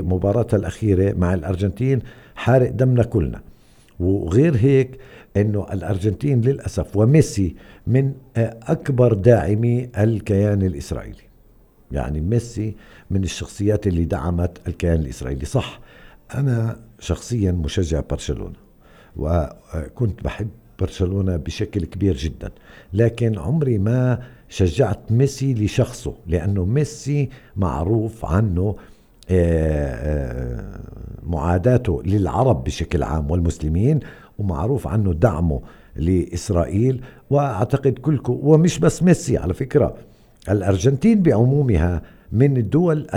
مباراتها الأخيرة مع الأرجنتين حارق دمنا كلنا. وغير هيك انه الأرجنتين للأسف وميسي من أكبر داعمي الكيان الإسرائيلي. يعني ميسي من الشخصيات اللي دعمت الكيان الإسرائيلي. صح أنا شخصيا مشجع برشلونة وكنت بحب برشلونة بشكل كبير جدا، لكن عمري ما شجعت ميسي لشخصه، لأنه ميسي معروف عنه معاداته للعرب بشكل عام والمسلمين، ومعروف عنه دعمه لإسرائيل. وأعتقد كلكم، ومش بس ميسي على فكرة، الأرجنتين بعمومها من الدول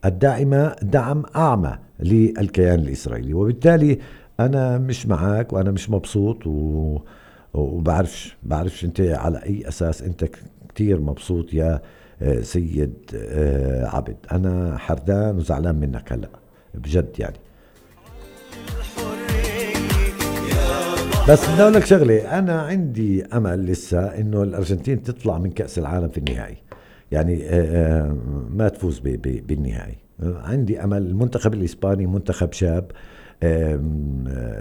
الداعمة دعم أعمى للكيان الإسرائيلي. وبالتالي أنا مش معاك وأنا مش مبسوط بعرفش أنت على أي أساس أنت كتير مبسوط يا سيد عبد. أنا حردان وزعلان منك هلأ بجد يعني. بس بدي أقول لك شغلة، أنا عندي أمل لسه إنه الأرجنتين تطلع من كأس العالم في النهائي، يعني ما تفوز بالنهائي. عندي أمل. المنتخب الإسباني منتخب شاب،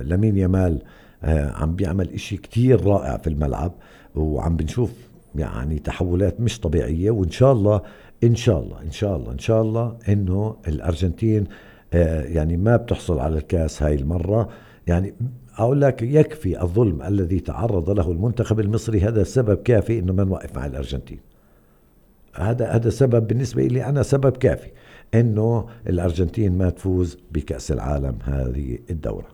لامين يامال عم بيعمل إشي كتير رائع في الملعب، وعم بنشوف يعني تحولات مش طبيعية. وإن شاء الله إن شاء الله إن شاء الله إن شاء الله إنه الأرجنتين يعني ما بتحصل على الكاس هاي المرة. يعني أقول لك يكفي الظلم الذي تعرض له المنتخب المصري، هذا سبب كافي إنه ما نوقف مع الأرجنتين. هذا سبب بالنسبة لي أنا، سبب كافي إنه الأرجنتين ما تفوز بكأس العالم هذه الدورة.